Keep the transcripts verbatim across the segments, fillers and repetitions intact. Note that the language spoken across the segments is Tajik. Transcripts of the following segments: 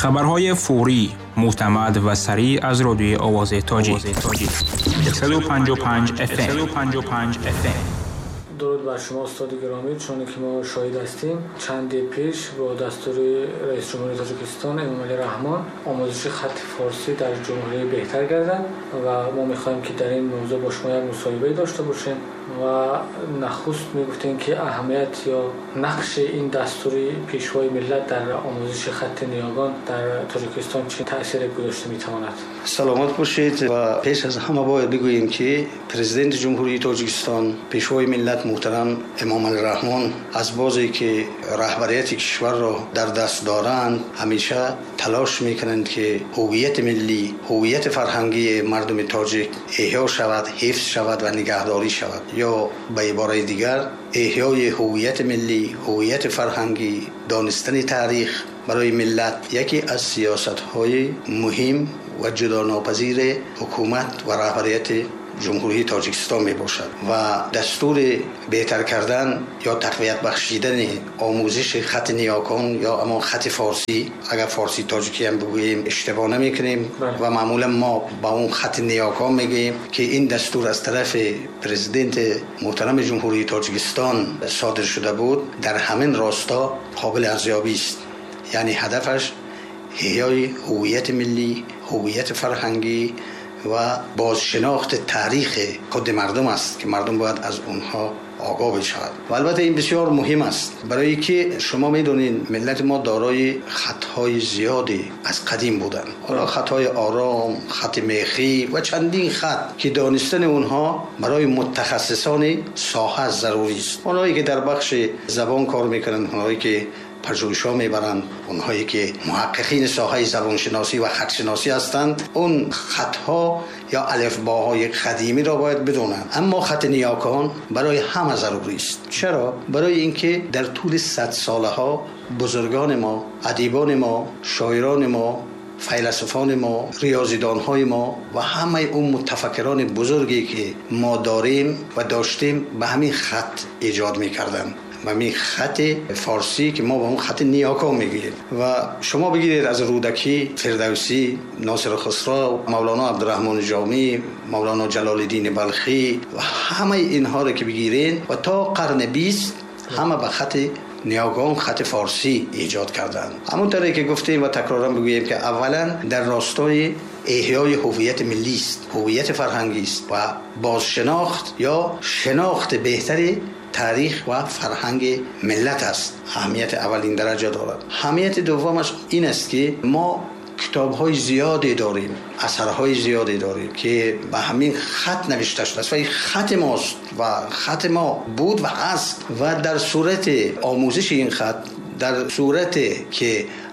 Хабарҳои фаврӣ, мӯътамад ва сариъ аз радиои Овози Тоҷик. яксаду панҷоҳу панҷ эф эм. яксаду панҷоҳу панҷ эф эм. Дуруд бар шумо устоди гиромӣ. Чуноне ки мо шоҳид ҳастем, чанде пеш бо дастури раиси ҷумҳури Тоҷикистон Эмомалӣ Раҳмон омӯзиши хати форсӣ дар ҷумҳурӣ беҳтар гардад ва мо мехоҳем ки дар ин мавзӯъ бо шумо як мусоҳибае дошта бошем ва нахуст мегуфтем ки аҳамият ё нақши ин дастури пешвои миллат дар омӯзиши хати ниёгон дар Тоҷикистон чӣ таъсире гузошта метавонад. Саломат бошед. Ва пеш аз ҳама бояд бигӯем ки президенти ҷумҳурии Тоҷикистон, пешвои миллат муҳтарам Эмомалӣ Раҳмон аз бозе ки раҳбарияти кишварро дар даст доранд, ҳамеша талош мекунанд ки ҳувияти миллӣ, ҳувияти фарҳангии мардуми тоҷик эҳё шавад, ҳифз шавад ва нигаҳдорӣ шавад. Ё ба ибораи дигар, эҳёи ҳувияти миллӣ, ҳувияти фарҳангӣ, донистани таърих барои миллат яке аз сиёсатҳои муҳим ва ҷудонопазири ҳукумат ва раҳбарияти ҷумҳурии Тоҷикистон мебошад ва дастури беҳтар кардан ё тақвият бахшидани омӯзиши хати ниёкон ё ҳамон хати форсӣ, агар форсӣ тоҷикӣ ҳам бигӯем иштибоҳ намекунем ва маъмулан мо ба он хати ниёкон мегӯем ки ин дастур аз тарафи президенти муҳтарами ҷумҳурии Тоҷикистон содир шуда буд, дар ҳамин росто қобили арзёбӣ аст. Яъне ҳадафаш эҳёи ҳувияти миллӣ, ҳувияти фарҳангӣ ва бозшинохти таърихи худи мардум аст ки мардум бояд аз онҳо огоҳ бишавад. Ва албатта ин бисёр муҳим аст, барои ки шумо медонед миллати мо дорои хатҳои зиёде аз қадим буданд. Ҳоло хатҳои ором, хати мехӣ ва чандин хат ки донистани онҳо барои мутахассисони соҳа зарурӣ аст. Онҳое ки дар бахши забон кор мекунанд, онҳое ки пажӯҳишҳо мебаранд, онҳое ки муҳаққиқини соҳаи забоншиносӣ ва хатшиносӣ ҳастанд, он хатҳо ё алифбоҳои қадимиро бояд бидонанд. Аммо хати ниёкон барои ҳама зарурӣ аст. Чаро? Барои инки дар тӯли сад солаҳо бузургони мо, адибони мо, шоирони мо, файласуфони мо, риёзидонҳои мо ва ҳамаи он мутафаккирони бузурге ки мо дорем ва доштем ба ҳамин хат эҷод мекарданд. Ба ҳамин хати форсӣ ки мо ба он хати ниёкон мегӯем. Ва шумо бигиред аз Рӯдакӣ, Фирдавсӣ, Носир Хусрав, Мавлоно Абдурраҳмони Ҷомӣ, Мавлоно Ҷалолиддини Балхӣ ва ҳамаи инҳоро ки бигиред ва то қарни бист ҳама ба хати ниёгон, хати форсӣ эҷод карданд. Ҳамон тавре ки гуфтем ва такроран бигӯем ки аввалан дар ростои эҳёи ҳувияти миллӣ аст, ҳувияти фарҳангӣ аст ва бозшинохт ё шинохти беҳтари таърих ва фарҳанги миллат аст. Аҳамияти аввалин дараҷа дорад. Аҳамияти дуввумаш ин аст ки мо китобҳои зиёде дорем, асарҳои зиёде дорем ки ба ҳамин хат навишта шудааст ва ин хати мост ва хати мо буд ва ҳаст ва дар сурати омӯзиши ин хат, дар сурате ки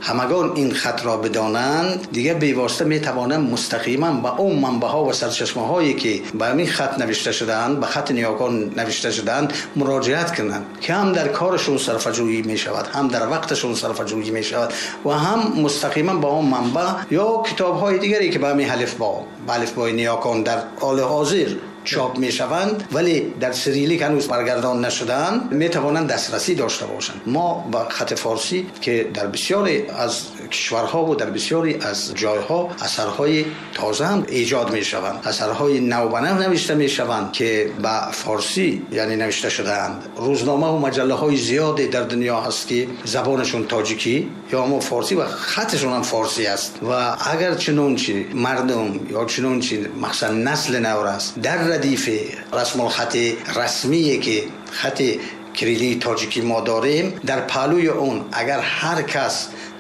ҳамагон ин хатро бидонанд, дигар бевосита метавонанд мустақиман ба он манбаъҳо ва сарчашмаҳое ки ба ҳамин хат навишта шудаанд, ба хати ниёкон навишта шудаанд, муроҷиат кунанд ки ҳам дар корашон сарфаҷӯӣ мешавад, ҳам дар вақташон сарфаҷӯӣ мешавад ва ҳам мустақиман ба он манбаъ ё китобҳои дигаре ки ба ҳамин алифбо, ба алифбои ниёкон дар ҳоли ҳозир чоп мешаванд вале дар сирилик ҳанӯз баргардон нашудаанд, метавонанд дастрасӣ дошта бошанд. Мо ба хати форсӣ ки дар бисёре аз кишварҳо ва дар бисёре аз ҷойҳо асарҳои тоза ҳам эҷод мешаванд, асарҳои навбанав навишта мешаванд ки ба форсӣ яъне навишта шудаанд. Рӯзнома ва маҷаллаҳои зиёде дар дунё ҳаст ки забонашон тоҷикӣ ё ҳамон форсӣ ва хатшон ҳам форсӣ аст ва агар чунончи мардум ё чунончи махсусан насли нав аст дар ردифи расмулхати расмие ки хати кириллии тоҷикӣ мо дорем, дар паҳлӯи он агар ҳар кас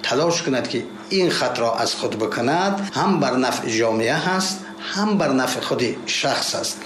талош кунад ки ин хатро аз худ бикунад, ҳам бар нафъи ҷомеа ҳаст, ҳам бар нафъи худи шахс аст.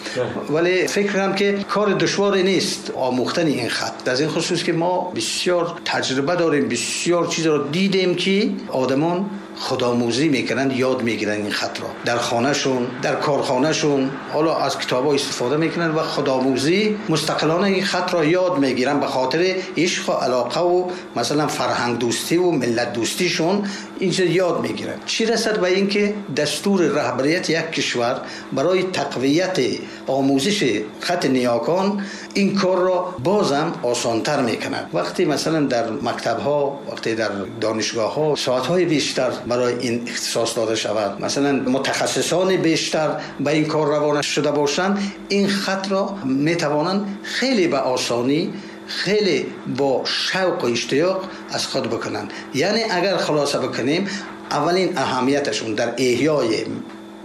Вале фикр кунам ки кори душворе нест омӯхтани ин хат, аз ин хусус ки мо бисёр таҷриба дорем, бисёр чизро дидем ки одамон худомӯзӣ мекунанд, ёд мегиранд ин хатро дар хонашон, дар корхонашон, ҳоло аз китобҳо истифода мекунанд ва худомӯзӣ мустақилона ин хатро ёд мегиранд ба хотири ишқ ва алоқа ва масалан фарҳангдӯстӣ ва миллатдӯстишон ин чиз ёд мегиранд. Чӣ расад ба ин ки дастури раҳбарияти як кишвар барои тақвияти омӯзиши хати ниёкон ин корро бозам осонтар мекунад. Вақте масалан дар мактабҳо, вақте дар донишгоҳҳо соатҳои бештар برای این اختصاص داده شود، مثلا متخصصان بیشتر به این کار روانه شده باشند، این خط را میتوانند خیلی به آسانی، خیلی با شوق و اشتیاق از خود بکنند. یعنی اگر خلاصه بکنیم، اولین اهمیتشون در احیای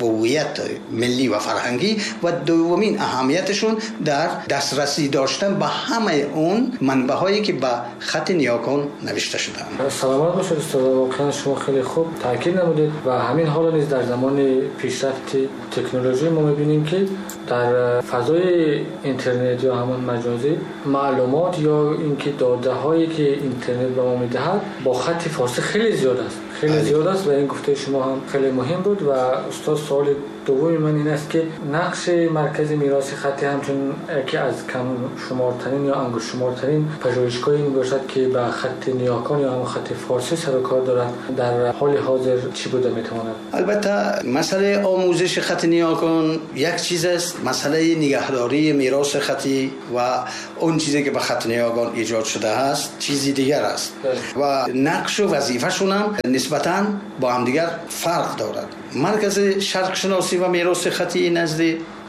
هویت ملی و فرهنگی و دومین اهمیتشون در دسترسی داشتن به همه اون منبع هایی که به خط نیاکان نوشته شدند. سلامت باشید استاد، واقعا شما خیلی خوب تاکید نمودید و همین حالا نیز در زمان پیشرفت تکنولوژی ما می‌بینیم که در فضای اینترنت یا همان مجازی معلومات یا اینکه داده هایی که اینترنت به ما میدهد با خط فارسی خیلی زیاد است، خیلی زیاد است و این گفته شما هم خیلی مهم بود. و استاد سوال دوم من این است که نقش مرکز میراث خطی همچون یکی از کم شمارترین یا انگشت شمارترین پژوهشگاهی میباشد که به خط نیاکان یا هم خط فارسی سر و کار دارد، در حال حاضر چی بوده میتواند؟ البته مسئله آموزش خط نیاکان یک چیز است، مسئله نگهداری میراث خطی و اون چیزی که به خط نیاکان ایجاد شده است چیزی دیگر است و نقش و وظیفه‌شون هم نسبتاً با هم دیگر فرق دارد. مرکز شرق شناسی و میراث خطی نزد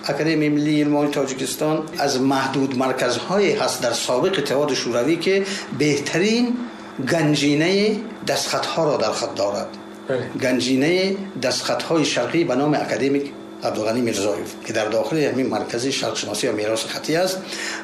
اکادمی ملی علم‌های تاجیکستان از محدود مرکزهایی هست در سابق اتحاد شوروی که بهترین گنجینه دستخط‌ها را در خود دارد. گنجینه دستخط‌های شرقی به نام اکادمیک عبدالغنی میرزایف که در داخل همین مرکز شرق شناسی و میراث خطی است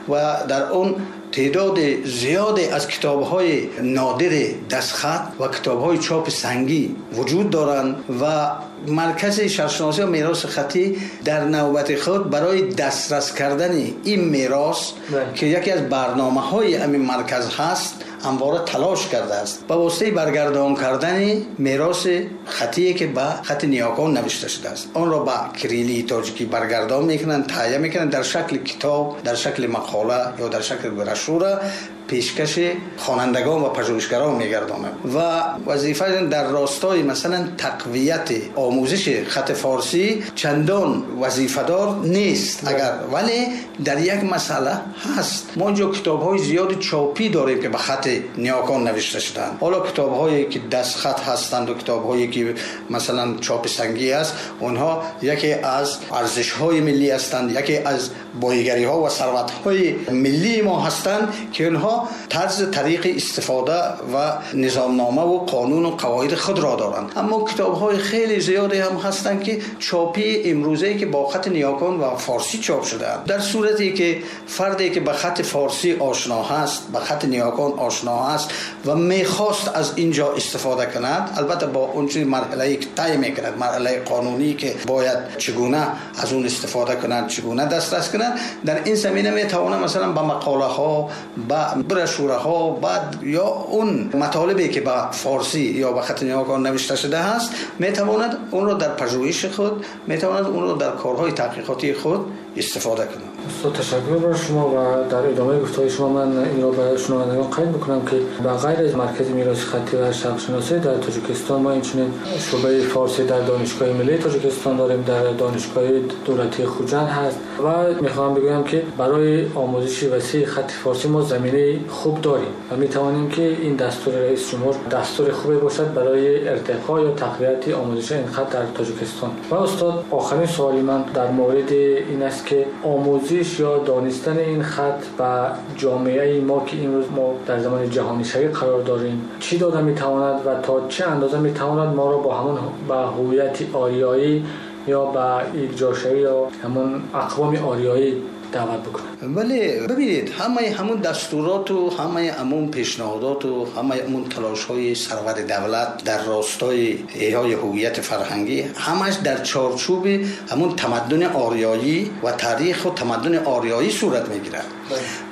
و در اون تعداد زیاد از کتاب‌های نادر دستخط و کتاب‌های چاپ سنگی وجود دارند و مرکز شرق‌شناسی و میراث خطی در نوبت خود برای دسترس کردن این میراث که یکی از برنامه‌های همین مرکز هست همواره تلاش کرده است با واسطه برگردان کردن میراث خطی که به خط نیاکان نوشته شده است، آن را به کریلی تاجیکی برگردان میکنند، تهیه میکنند، در شکل کتاب، در شکل مقاله یا در شکل بروشور پیشکش خوانندگان و پژوهشگران میگرداند و وظیفه در راستای مثلا تقویت آموزش خط فارسی چندان وظیفه‌دار نیست اگر، ولی در یک مسئله هست. ما اینجا کتاب‌های زیاد چاپی داریم که به خط نیاکان نوشته شدند. حالا کتاب‌هایی که دست خط هستند و کتاب‌هایی که مثلا چاپ سنگی است، اونها یکی از ارزش‌های ملی هستند، یکی از بایگری‌ها و ثروت‌های ملی ما هستند که اونها طرز طریق استفاده و نظامنامه و قانون و قواعد خود را دارند. اما کتاب‌های خیلی زیادی هم هستند که چاپی امروزه که با خط نیاکان و فارسی چاپ شده‌اند. در صورتی که فردی که به خط فارسی آشنا هست، به خط نیاکان آشنا هست و میخواست از اینجا استفاده کند، البته با اون چیز مرحله‌ای که طی میکند، مرحله قانونی که باید چگونه از اون استفاده کند، چگونه دسترس کند، در این زمینه میتواند مثلا با مقاله ها، با بروشورها، بعد یا اون مطالبی که با فارسی یا با خط نیاکان نوشته شده هست، میتواند اون را در پژوهش خود، میتواند اون را در کارهای تحقیقاتی خود استفاده کند. استاد تشکر بر شما و در ادامه گفت‌های شما من این را به شنوندگان قید بکنم که به غیر از مرکز میراث خطی و شرق شناسی در تاجیکستان ما اینچنین شعبه فارسی در دانشگاه ملی تاجیکستان داریم، در دانشگاه دولتی خوجند هست و میخوام بگویم که برای آموزش وسیع خط فارسی ما زمینه خوب داریم و میتوانیم که این دستور رئیس جمهور دستور خوبی باشد برای ارتقا یا تقویت آموزش این خط در تاجیکستان. و استاد آخرین سوال من در مورد این است که آموزش یا دانستن این خط به جامعه ما که امروز ما در زمان جهانی شوی قرار داریم چی داده میتواند و تا چه اندازه میتواند ما را با همون به هویت آریایی یا به ایجاشوی یا همون اقوام آریایی دعوت بکنه؟ ولی ببینید همه همون دستورات و همه همون پیشنهادات و همه همون تلاش های سرور دولت در راستای احیای هویت فرهنگی همش در چارچوب همون تمدن آریایی و تاریخ و تمدن آریایی صورت میگیرد.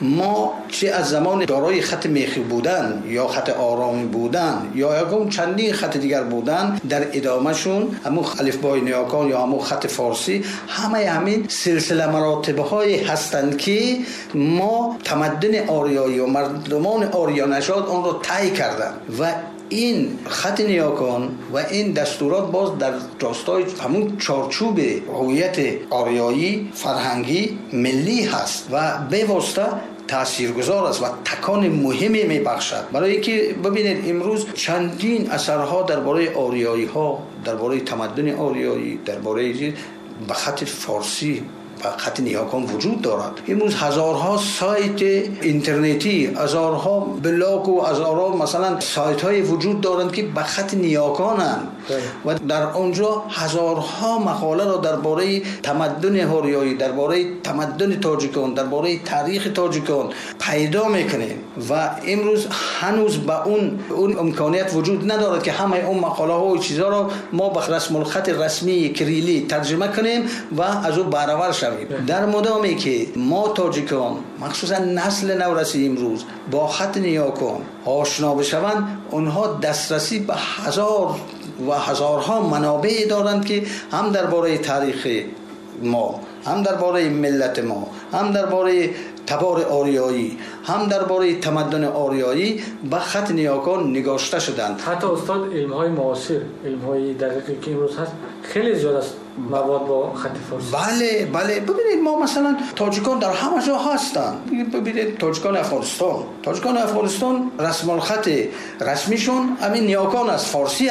ما چه از زمان دارای خط میخی بودن یا خط آرامی بودن یا یکم چندین خط دیگر بودن، در ادامهشون همون الفبای نیاکان یا همون خط فارسی، همه همین سلسله مراتب های هستند که ما تمدن آریایی و مردمان آریا نژاد آن را طی کردند و این خط نیاکان و این دستورات باز در راستای همون چارچوب هویت آریایی فرهنگی ملی هست و به واسطه таъсиргузор аст ва такони муҳиме мебахшад. Барои инки бибинед, имрӯз чандин асарҳо дар бораи ориёиҳо, дар бораи тамаддуни ориёӣ, дар бораи ба хати форсӣ, ба хати ниёкон вуҷуд дорад. Имрӯз ҳазорҳо сайти интернетӣ, ҳазорҳо блог ва ҳазорҳо масалан сайтҳое вуҷуд доранд, ки ба хати ниёконанд ва дар онҷо ҳазорҳо мақоларо дар бораи тамаддуни ориёӣ, дар бораи тамаддуни тоҷикон, дар бораи таърихи тоҷикон пайдо мекунем. Ва имрӯз ҳанӯз ба он он имконият вуҷуд надорад, ки ҳамаи он мақолаҳо ва чизҳоро мо ба расмулхати расмии кириллӣ тарҷума кунем ва аз ӯ баҳравар шавем. Дар мудоме ки мо тоҷикон, махсусан насли навраси имрӯз, бо хати ниёкон ошно бишаванд, онҳо дастрасӣ ба ҳазор ва ҳазорҳо манобеъ доранд, ки ҳам дар бораи таърихи мо, ҳам дар бораи миллати мо, ҳам дар бораи табори ориёӣ, ҳам дар бораи тамаддуни ориёӣ ба хати ниёкон нигошта шуданд. Ҳатто устод, илмҳои муосир, илмҳои дақиқе ки имрӯз ҳаст, хеле зиёд аст мавод бо хати форсӣ. Бале, бале, бибинед, мо масалан тоҷикон дар ҳама ҷо ҳастанд. Бибинед, тоҷикони Афғонистон, тоҷикони Афғонистон расмулхати расмишон ҳамин ниёкон аст, форсӣ.